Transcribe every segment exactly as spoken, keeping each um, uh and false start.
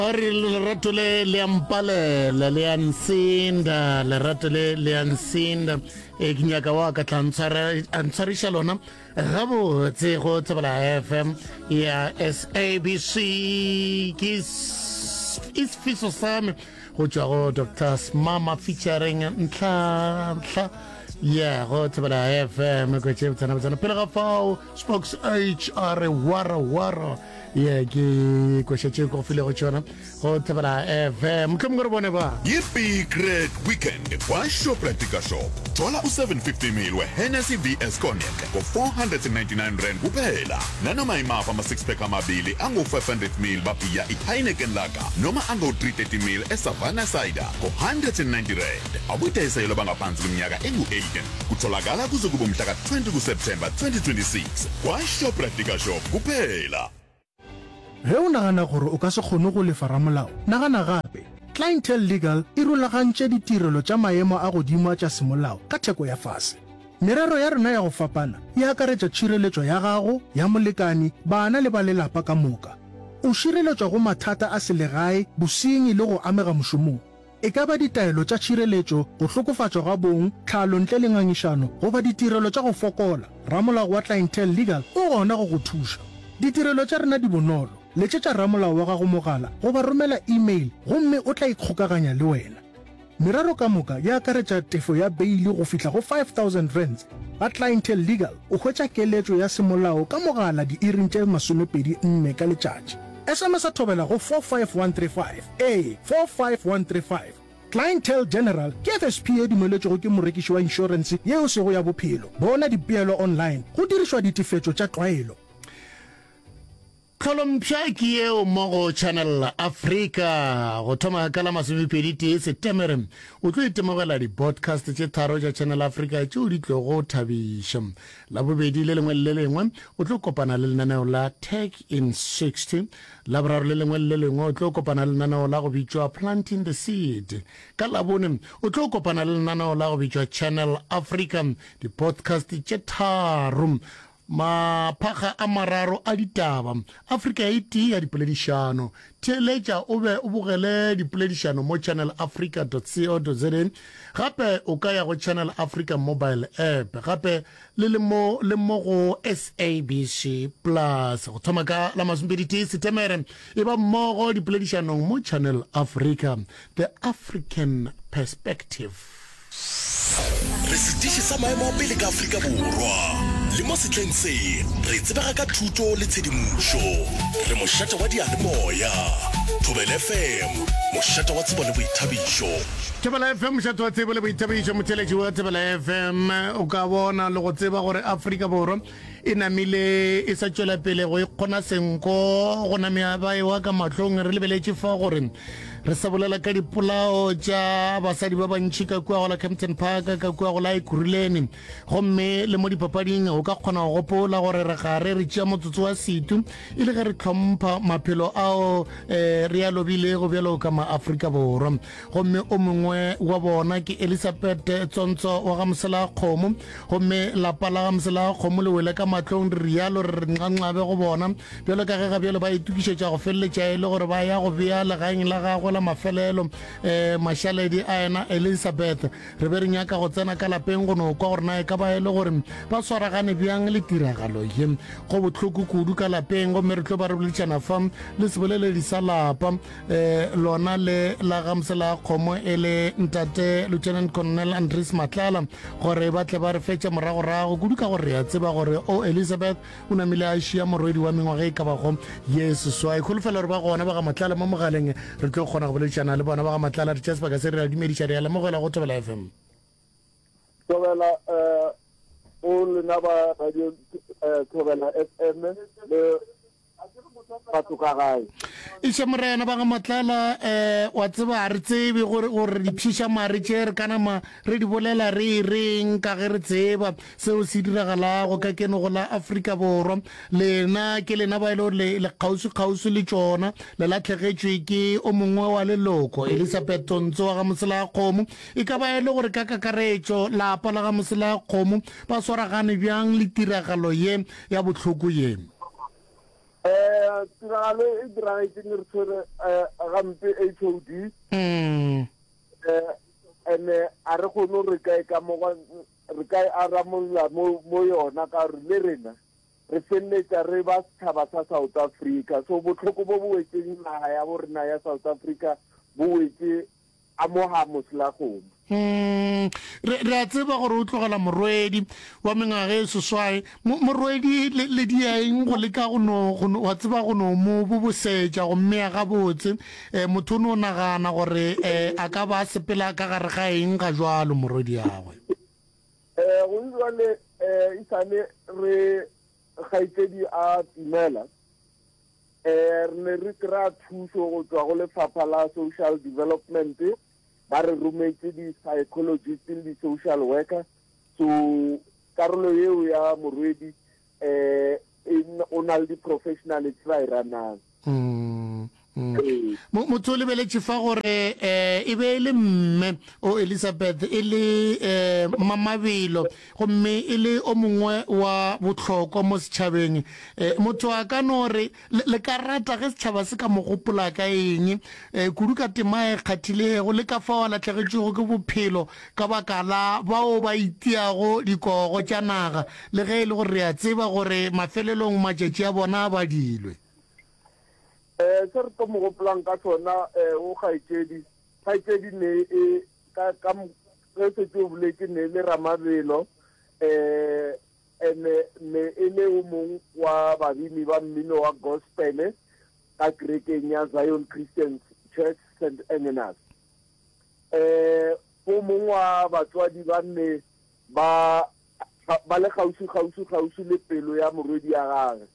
A re lerato le le a mpalela le a nsinda lerato le le a nsinda e ke nyaka wa ka tla a ntshwariša lona gabotse go Thobela F M ya S A B C. Ke isifiso sami go tšwa go Doctor Smama featuring Ntlhantlha ya go Thobela F M kwetse botsana botsana. Pele ga fao, Spokes H a re wara wara ye ke kwešetše ko filego tšona go Thobela F M. Mohlomongwe re bone ba Yi-Big Red Weekend kwa-Shoprite Shop. Thola u-seven fifty ml we-Hennessy V S Cognac ngo-four hundred and ninety-nine rand kuphela. Nanoma imaphi ama-six pack amabili angu-five hundred ml babhiya i-Heineken Lager noma angu-three thirty ml e-Savannah Cider ngo-one hundred and ninety rand. Akudayiselwa bangaphansi kweminyaka engu eighteen. Kutholakala kuze kube umhla ka-twenty kuSeptemba twenty twenty-six kwa-Shoprite Shop kuphela. Ge o nagana gore o ka se kgone go lefa ramolao, nagana gape. Clientele Legal e rulagantše ditirelo tša maemo a godimo tša semolao ka theko ya fase. Merero ya rena ya go fapana e akaretša tšhireletšo ya gago, ya molekani, bana le ba lelapa ka moka. O šireletšwa go mathata a selegae, bosenyi le go amega mošomong. E ka ba ditaelo tša tšhireletšo, go hlokofatšwa ga bong, tlhalo ntle le ngangišano goba ditirelo tša go fokola, ramolao wa Clientele Legal o gona go go thuša. Ditirelo tša rena di bonolo. Letšetša ramolao wa gago mogala goba romela email gomme o tla ikgokaganya le wena. Merero ka moka e akaretša tefo ya beili go fihla go five thousand rands. Ga Clientele Legal o hwetša keletšo ya semolao ka mogala diiring tše masomepedi nne ka letšatši. S M S a thobela go four five one three five. Ee, four five one three five. Clientele General ke F S P e dumeletšwego ke morekiši wa inšorense yeo sego ya bophelo. Bona dipeelo online go dirišwa ditefetšo tša tlwaelo. Tlholompša ke yeo mo go Channel Africa. Go thoma ka la masomepedi tee Setemere o tlo itemogela di-podcast tše tharo tša Channel Africa tšeo di tlogo thabiša. Labobedi le lengwe le lengwe o tlo kopana le lenaneo la Tech in sixty. Laboraro le lengwe le lengwe o tlo kopana le lenaneo la go bitšwa Planting the Seed. Ka Labone o tlo kopana le lenaneo la go bitšwa Channel Africa. Di-podcast tše tharo, maphakga a mararo a ditaba, Afrika e tee ya dipoledišano. Theeletša o be o bogele dipoledišano mo channelafrica co za. Gape o ka ya go Channel Africa mobile app, gape le le mo le mo go S A B C Plus. Go thoma ka la masomepedi tee Setemere e ba mmogo dipoledišanong mo Channel Africa, the African perspective. Re setiši sa maemo a pele ka Afrika Borwa le mo setleng se re tsebega ka thuto le tshedimošo. Re mošate wa diyalemoya. Thobela F M, mošate wa tsebo le boithabišo. Thobela F M, mošate wa tsebo le boithabišo. Motheletši wa Thobela F M, o ka bona le go tseba gore Afrika Borwa e namile e sa tšwela pele go ikgona senko go namea ba ewa ka mahlong. Re lebeletše fa gore re sa bolela ka dipolao tša basadi ba bantši ka kua go la Kempton Park, ka kua go la Ekurhuleni, gomme le mo dipapading o ka kgona go gopola gore re gare re tšea motsotso wa setu e le ge re tlhompha maphelo ao um re a lobilego bjalo ka maAfrika Borwa. Gomme o mongwe wa bona ke Elizabeth Tsontso wa ga Mosela Kgomo, gomme lapa la ga Mosela Kgomo le wele ka mahlong. Re rialo re re nxanxabe go bona bjalo ka ge ga bjalo ba itokišetša go feleletša e le gore ba ya go bea legaeng la gagwe la mafelelo um mašaledi a ena Elizabeth. Re be re nyaka go tsena ka lapeng go no kwa gore na e ka ba e le gore ba swaragane bjang le tiragalo ye. Go bohloko kudu ka lapeng, gomme re tlo ba re boledišana fa le seboleledi sa lapa um lona le la ga Mosela Kgomo e le ntate Lieutenant Colonel Andries Matlala, gore ba tle ba re fetše moragorago kudu, ka gore re a tseba gore o Elizabeth o namile a šia morwedi wa mengwaga e ka bago ye seswai. Kholofelo gore ba gona ba ga Matlala mo mogaleng, re tlo kgona go boledišana le bona. Ba ga Matlala, re tšea sebaka se re a dumediša, re a lemogela go Thobela F M. Thobela um go lena ba radio eh, Thobela F M le batho ka gae. Iše morena, ba ga Matlala, um wa tseba ga re tsebe gore gore dipšiša mare tše re ka nama re di bolela re e reng, ka ge re tseba seo se diragalago ka keno go la Afrika Borwa. Lena ke lena ba e le gore le le kgauswi-kgauswi le tšona. Le latlhegetšwe ke o mongwe wa leloko, Elizabeth Tontso wa ga Mosela Kgomo. E ka ba e le gore ka kakaretšo lapa la ga Mosela Kgomo ba swaragane bjang le tiragalo ye ya bohloko ye? Eh tiragalo e diragetšeng re tshwere eh, gampe H O D. Mm. Eh ene a re kgone re ka e ka mo re ka e aramolla mo mo yona ka gore le rena re feleletša re ba setšhaba sa South Africa. So bohloko bo bo wetšeng naga ya bo rena ya South Africa bo wetše a mo ga moselakgomo. Mm, re, re a tseba gore o tlogela morwedi wa mengwaga e seswai. Mo, morwedi le, le dia eng go leka go no, go no, wa tseba go no mo bobosetša go mmea gabotse. Eh, motho o no nagana gore eh, a ka ba a sepela ka gare ga eng ga jwalo morwedi yagwe. Eh, go jwale eh, e sale re kgaetšedi a timela, eh, re ne re kry-a thušo go tšwa go lefapha la social development, ba re rometše di-psychologist le di-social worker. So karolo yeo ya morwedi eh, e o na le di-professional tse ba e ranang. Mm, mm. Ee. Mo- motho o lebeletše fa gore eh, e be e le mme o Elizabeth e le eh, mamabelo gomme e le o mongwe wa bohlokwa mo setšhabeng. Eh, motho a ka no re le, le ka rata ge setšhaba se ka mo gopola ka eng, eh, kudu ka tema e kgathilego le ka fao a lahlegetšwego ke bophelo ka baka la bao ba itiago dikogo tša naga, le ge e le gore re a tseba gore mafelelong matšatši a bona a badilwe. Eh, se re tlo mo gopolang ka sona, eh, o kgaetšedi, kgaetšedi ne e, ka, ka m-, ge setse o boletše ne e le ramabelo, eh, ene ne e le o mong wa babini ba mmino wa gospel ka kerekeng ya Zion Christian Church Saint Agnes. Eh, o mong wa batswadi ba nne ba, ba le kgauswi, kgauswi, kgauswi le pelo ya morwedi ya gagwe.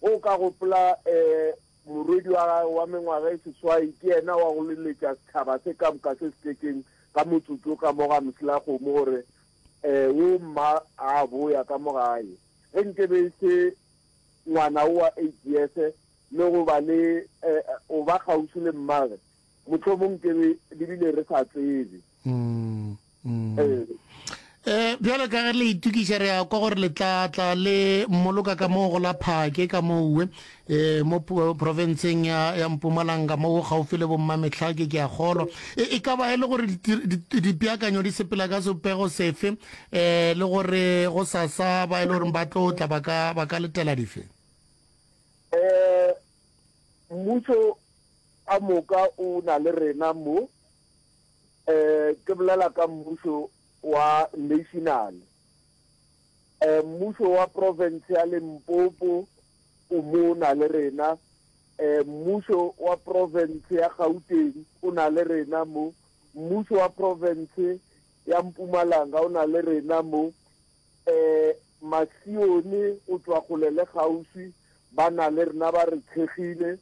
O ka gopola, eh, morwedi wa gagwe wa mengwaga e seswai ke yena wa go leletša setšhaba se ka moka se se tletseng ka motsotso ka mo ga moselakgomo gore, eh, o mma a boya ka mo gae. Ge nke be se ngwana o wa eight years le go ba le, eh, o ba kgauswi le mmagwe, mohlomong ke be le bile re sa tsebe. Mm, mm. Eh. Eh, bjalo ka ge le itokiša re ya kwa gore le tla tla le mmoloka ka moo go la Phake ka mowe, eh, mo po-, provinceng ya, ya Mpumalanga mo gaufi le bommametlhake ke a kgolwa. E, e ka ba e le gore di-, di-, dipeakanyo di sepela ka sebopego sefe, eh, le gore go sasa ba e le gore ba tlo tla ba ka, ba ka letela dife? Eh, mmušo a moka o na le rena mo, eh, ke bolela ka mmušo wa national. Eh, mmušo wa province ya Limpopo o mo na le rena, eh, mmušo wa province ya Gauteng o na le rena mo, mmušo wa province ya Mpumalanga o na le rena mo, eh, Masione o tšwa kgole le kgauswi ba na le rena ba re thekgile,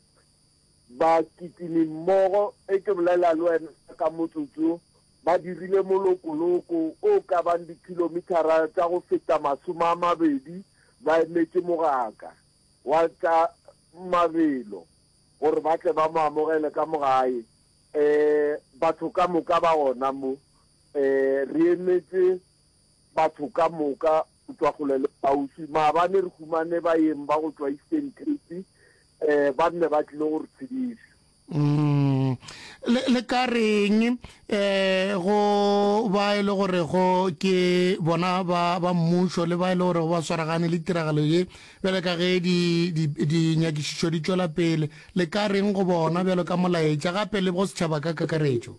ba kitime mmogo. E ke bolela le wena ka motsotso, ba dirile molokoloko o ka bang dikilometara tša go feta masome a mabedi ba emetše mogaka wa tša mabelo gore ba tle ba mo amogele ka mo gae. Eh, batho ka moka ba gona mo, eh, re emetše batho ka moka go tšwa kgole le kgauswi. Maabane re humane baeng ba go tšwa Eastern Cape, eh, ba nne ba tlile go re tshediša. Mm. Le, le ka reng, eh, go ba e le gore go ke bona ba, ba mmušo le ba e le gore ba swaragane le tiragalo ye bjale ka ge di, di, dinyakišišo di tšwela pele, le ka reng go bona bjalo ka molaetša gape le go setšhaba ka kakaretšo?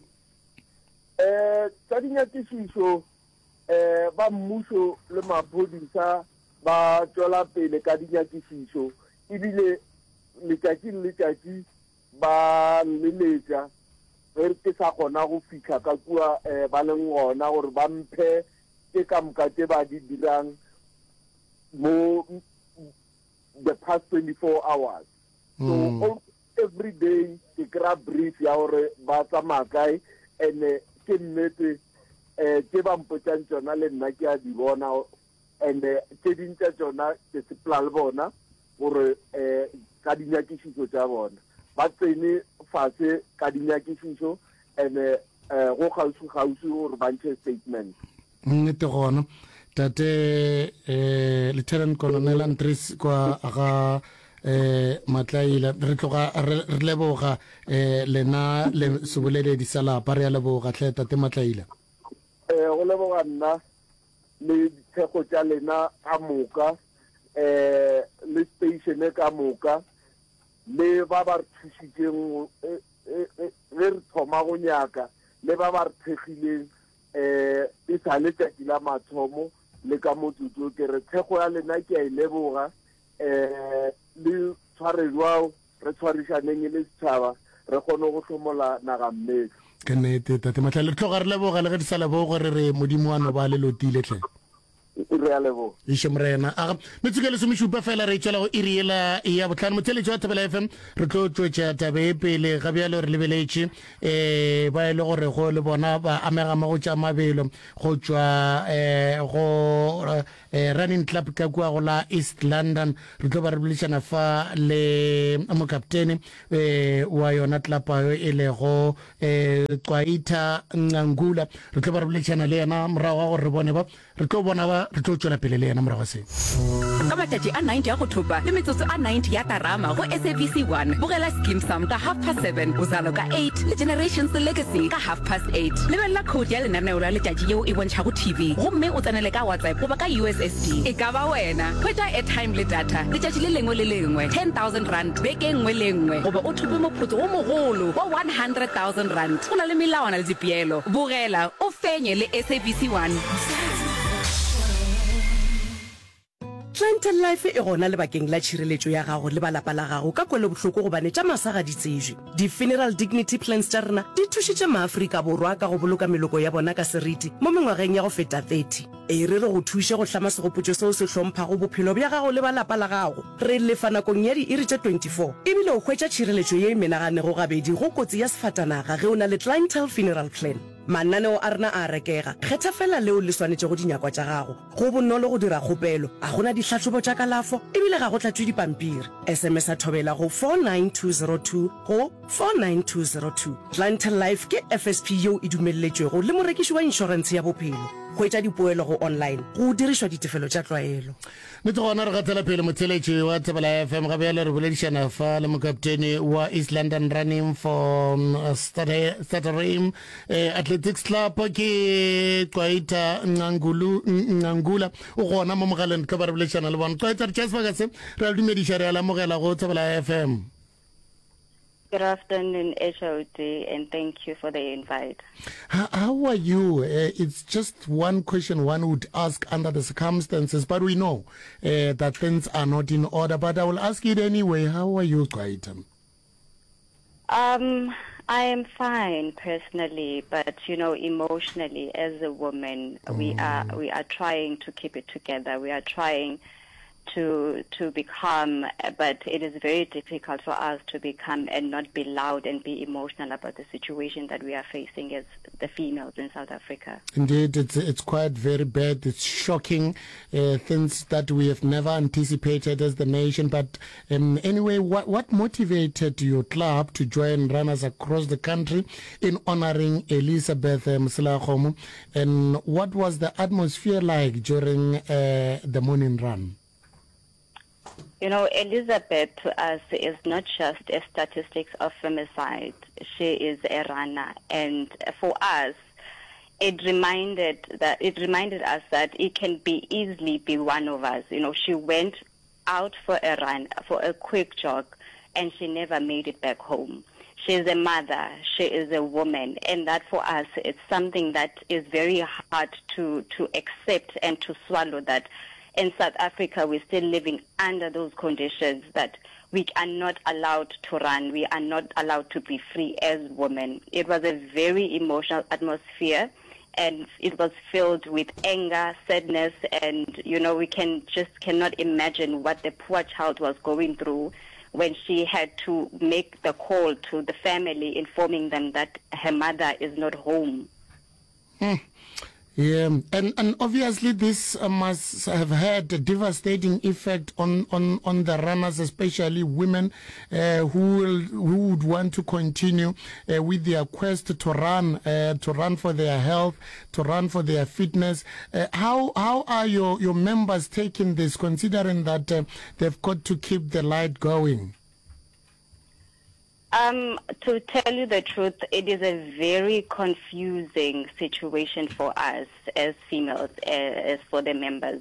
Eh, tša dinyakišišo, eh, ba mmušo le maphodisa ba tšwela pele ka dinyakišišo, ebile letšatši le letšatši ba leletša ge ke sa kgona go fihla ka kua, eh, ba leng gona gore ba mphe tše ka moka tše ba di dirang mo the past twenty-four hours. So Mm. all, every day ke kry-a brief ya gore ba tsamaya kae, and-e ke nnete, eh, tše ba mpotšang tšona le nna ke a di bona, and-e tše ding tša tšona ke sepela le bona gore, eh, ka dinyakišišo tša bona ba tsene fase ka dinyakišišo, and-e, eh, go kgauswi-kgauswi gore ba ntšhe statement. Nnete gona tate, eh, Lieutenant Colonel Andries kwa ga eh Matlaila re tloga re leboga eh lena le seboleledi sa lapa re a leboga hle tate Matlaila eh go leboga nna le dithekgo tša lena ka moka eh le station ka moka le ba ba re thušitšeng ge re thoma go nyaka le ba ba re thekgileng eh e sa le tšatši la mathomo le ka motsotso ke re thekgo ya lena ke a e leboga eh le tshware jwao re tshwarišaneng e le setšhaba re kgone go hlomola naga mmetlo ke nnete tate Matlale re tloga re leboga le ge di sa leboge re re modimo wa no ba le lotile tlhe re a leboga iše morena aga metsotso e lesomešupa fela re tšwela go iri yela ya botlhano motheletši wa thobela fm re tlo tšwetša tabe e pele ga bjalo re lebeletše um ba e le gore go le bona ba amega mo go tša mabelo go tšwa um go um running club ka kua go la east london re tlo ba re boledišana fa le mokaptene um wa yona tlapa yo e lego um Cwaita Ngangula re tlo ba re boledišana le yena morago ga gore re bone ba re tlo bona ba re tlo tšwela pele le yena morago se ka matšatši a ninety a go thopa le metsotso a ninety ya tarama go SABC one bogela Skeem Saam ka half past seven Uzalo ka eight le Generations Legacy ka half past eight lebelela code ya lenaneo la letšatši yeo e bontšhago TV gomme o tsenele ka WhatsApp goba ka USSD e ka ba wena hwetša airtime le data letšatši le lengwe le lengwe ten thousand rand beke nngwe le nngwe goba o thope moputso wo mogolo wa one hundred thousand rand go na le melawana le dipeelo bogela o fenye le SABC one Clientele Life e gona lebakeng la tšhireletšo ya gago le ba lapa la gago ka kwelobohloko gobane tša masa ga di tsejwe. Di-funeral dignity plans tša rena di thušitše maAfrika Borwa ka go boloka meloko ya bona ka seriti mo mengwageng ya go feta thirty. E re re go thuše go hlama segopotšo seo se hlomphago bophelo bja gago le ba lapa la gago. Re lefa nakong ya diiri tše twenty four ebile o hwetša tšhireletšo ye e menaganego gabedi go kotsi ya sefatanaga ge o na le Clientele Funeral Plan. Mananeo a rena a a rekega. Kgetha feela leo le swanetšego dinyakwa tša gago. Go bonolo go dira kgopelo, ga go na dihlahlobo tša kalafo ebile ga go tlatšwe dipampiri. SMS-a Thobela go four nine two zero two go four nine two zero two. Clientele Life ke FSP yeo e dumelletšwego le morekiši wa inšorentshe ya bophelo. Hwetša dipoelo go online go dirišwa ditefelo tša tlwaelo. Nnete gona re gatela pele motheletši wa Thobela FM ga bjale re boledišana fa le mokaptene wa East London Running for Stutterheim eh, Athletics Club ke Cwaita Ngangulu Ngangula o gona mo mogaleng re tlo ba re boledišana le bona Cwaita re tšea sebaka se re a le dumediša re a le amogela go Thobela FM Good afternoon, H O D, and thank you for the invite. How, how are you? Uh, it's just one question one would ask under the circumstances, but we know uh, that things are not in order. But I will ask it anyway. How are you, Cwaita? Um, I am fine personally, but you know, emotionally, as a woman, mm. we are we are trying to keep it together. We are trying to to be calm, but it is very difficult for us to be calm and not be loud and be emotional about the situation that we are facing as the females in South Africa. Indeed, it's, it's quite very bad. It's shocking, uh, things that we have never anticipated as the nation. But um, anyway, what, what motivated your club to join runners across the country in honoring Elizabeth uh, Moselakgomo? And what was the atmosphere like during uh, the morning run? You know, Elizabeth to us is not just a statistics of femicide. She is a runner. And for us, it reminded that it reminded us that it can be easily be one of us. You know, she went out for a run, for a quick jog, and she never made it back home. She is a mother, she is a woman, and that for us, it's something that is very hard to, to accept and to swallow, that in South Africa, we're still living under those conditions that we are not allowed to run. We are not allowed to be free as women. It was a very emotional atmosphere, and it was filled with anger, sadness, and, you know, we can just cannot imagine what the poor child was going through when she had to make the call to the family informing them that her mother is not home. Hmm. Yeah, and, and obviously this uh, must have had a devastating effect on, on, on the runners, especially women uh, who will, who would want to continue uh, with their quest to run, uh, to run for their health, to run for their fitness. Uh, how how are your, your members taking this, considering that uh, they've got to keep the light going? Um, to tell you the truth, it is a very confusing situation for us as females, as for the members.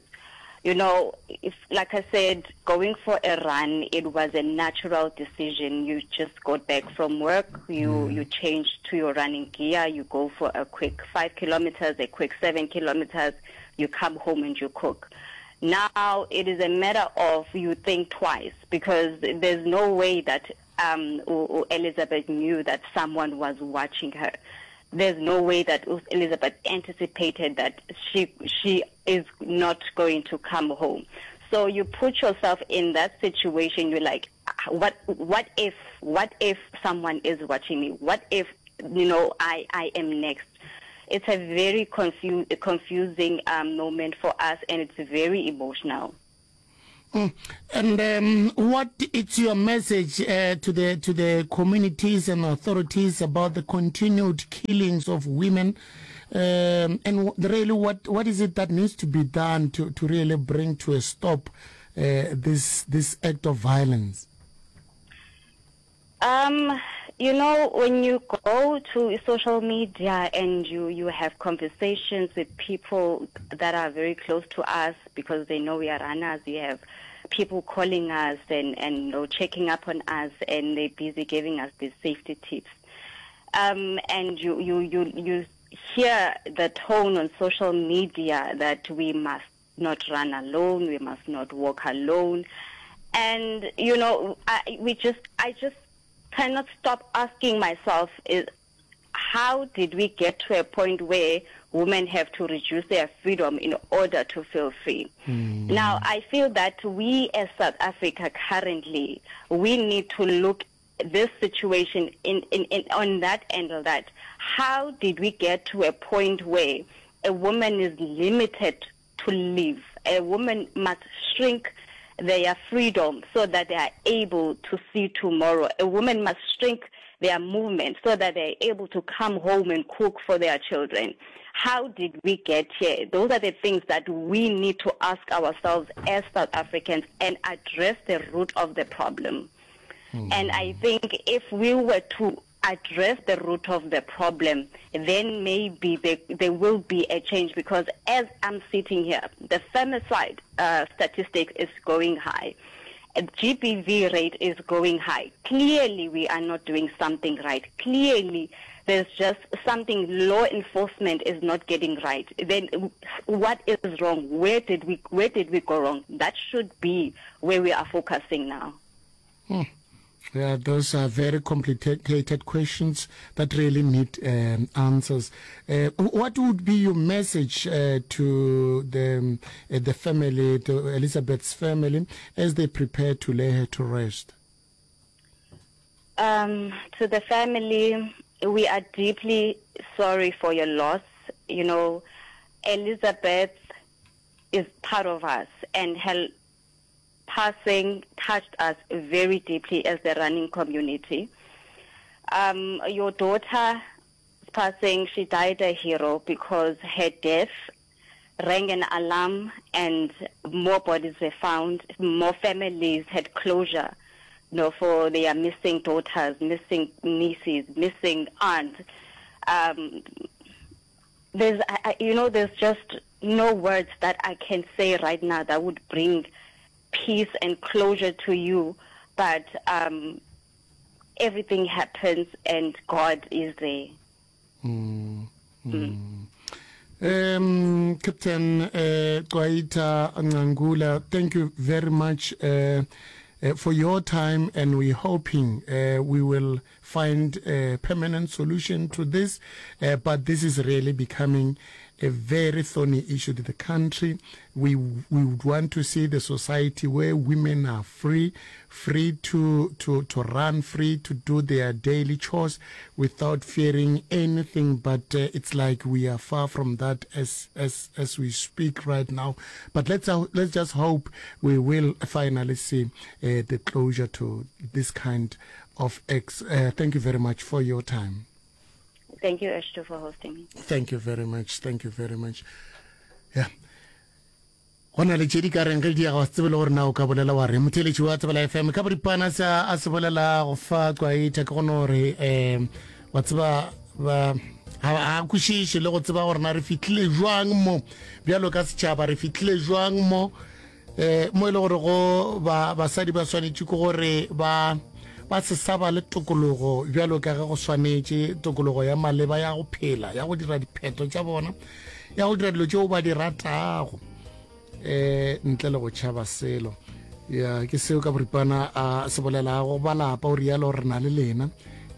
You know, if, like I said, going for a run, it was a natural decision. You just got back from work, you, mm. you change to your running gear, you go for a quick five kilometers, a quick seven kilometers, you come home and you cook. Now it is a matter of you think twice, because there's no way that um, Elizabeth knew that someone was watching her. There's no way that Elizabeth anticipated that she, she is not going to come home. So you put yourself in that situation. You're like, what, what if, what if someone is watching me? What if, you know, I, I am next? It's a very confu- confusing, um, moment for us, and it's very emotional. Mm. And, um, what is your message, uh, to the, to the communities and authorities about the continued killings of women? Um, and really, what, what is it that needs to be done to, to really bring to a stop, uh, this, this act of violence? Um, you know, when you go to social media and you, you have conversations with people that are very close to us because they know we are runners, we have people calling us and, and you know, checking up on us, and they're busy giving us these safety tips. Um, and you, you, you, you hear the tone on social media that we must not run alone, we must not walk alone. And, you know, I, we just, I just cannot stop asking myself, is how did we get to a point where women have to reduce their freedom in order to feel free? Mm. Now, I feel that we as South Africa currently, we need to look this situation in, in, in on that angle, that how did we get to a point where a woman is limited to live? A woman must shrink their freedom so that they are able to see tomorrow. A woman must shrink their movement so that they are able to come home and cook for their children. How did we get here? Those are the things that we need to ask ourselves as South Africans and address the root of the problem. Mm. And I think if we were to address the root of the problem, then maybe there, there will be a change, because as I'm sitting here, the femicide, uh, statistic is going high. G B V rate is going high. Clearly, we are not doing something right. Clearly, there's just something law enforcement is not getting right. Then what is wrong? Where did we, where did we go wrong? That should be where we are focusing now. Hmm. Yeah, those are very complicated questions that really need, um, answers. Uh, what would be your message, uh, to the, um, uh, the family, to Elizabeth's family, as they prepare to lay her to rest? Um, to the family, we are deeply sorry for your loss. You know, Elizabeth is part of us, and her passing touched us very deeply as the running community. Um, your daughter's passing, she died a hero because her death rang an alarm and more bodies were found, more families had closure, you know, for their missing daughters, missing nieces, missing aunts. Um, there's, I, I, you know, there's just no words that I can say right now that would bring peace and closure to you, but, um, everything happens and God is there. Mm, mm. Mm. Um, Captain, uh, Cwayita Ngangula, thank you very much, uh, uh, for your time, and we're hoping, uh, we will find a permanent solution to this, uh, but this is really becoming a very thorny issue to the country. We, we would want to see the society where women are free, free to, to, to run, free to do their daily chores without fearing anything. But uh, it's like we are far from that as, as, as we speak right now. But let's, uh, let's just hope we will finally see uh, the closure to this kind of acts. Uh, thank you very much for your time. Thank you, Ashto, for hosting me. Thank you very much. Thank you very much. Yeah. Go na le tše di ka reng ge di ya ga tsebe le gore na o ka bolela wa re motheletši wa Tsebela F M ka boripana se a se bolela go fa Cwaita ke go no re um wa tseba ba ga a kwešiše le go tseba gore na re fihlile jwang mo bjalo ka setšhaba re fihlile jwang mo um mo e le gore go ba basadi ba swanetše ke gore ba ba se sa ba le tokologo bjalo ka ge go swanetše tokologo ya maleba ya go phela ya go dira diphetho tša bona ya go dira dilo tšeo ba di ratago eh ntle le go tšhaba selo ya ke seo ka boripana a se bolelago ba lapa o rialo re na le lena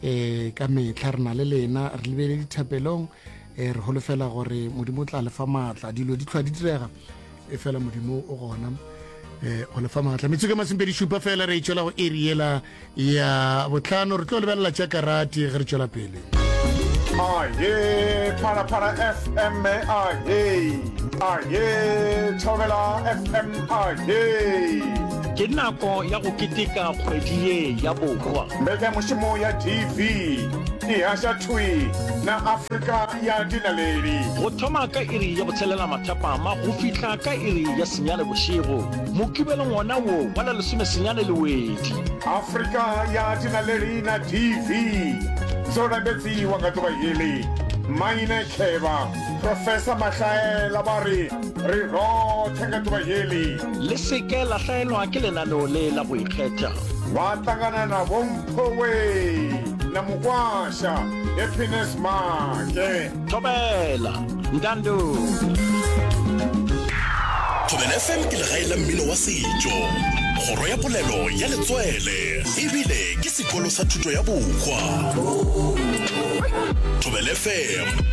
eh ka mehla re na le lena re lebele dithapelong eh re holofela gore modimo o tla lefa maatla dilo di tlhwa di direga e fela modimo o gona eh go lefa maatla metsotso ke masomepedi šupa fela re e tšwela go eri yela ya botlhano re tlo lebelela tša karate ge re tšwela pele. Aye, Phalaphala F M aye, aye, Thobela F M aye. Ke nako ya go keteka kgwedi ye ya bohwa. Mbekanyamošomo ya T V e haša thwi na Afrika ya dinaledi. Go thoma ka iri ya botshelela mathapama go fihla ka iri ya senyane bošego, Mokibelong wona wo wa la lesomesenyane Lewedi. Afrika ya dinaledi na T V dzo lambedziwa nga ḓuvha heḽi. Maine Khevha, Professor Mahlaela ba ri ri roṱhe nga ḓuvha heḽi. Le se ke la hlaelwa ke lenaneo le la go ikgetha. Vha ṱangana na Vho Mphowe na Mukwasha, Happiness Maake. Thobela, Ntando. Thobela F M ke legae la mmino wa setšo, kgoro ya polelo ya letswele, ebile ke sekolo sa thuto ya bohwa. Thobela F M.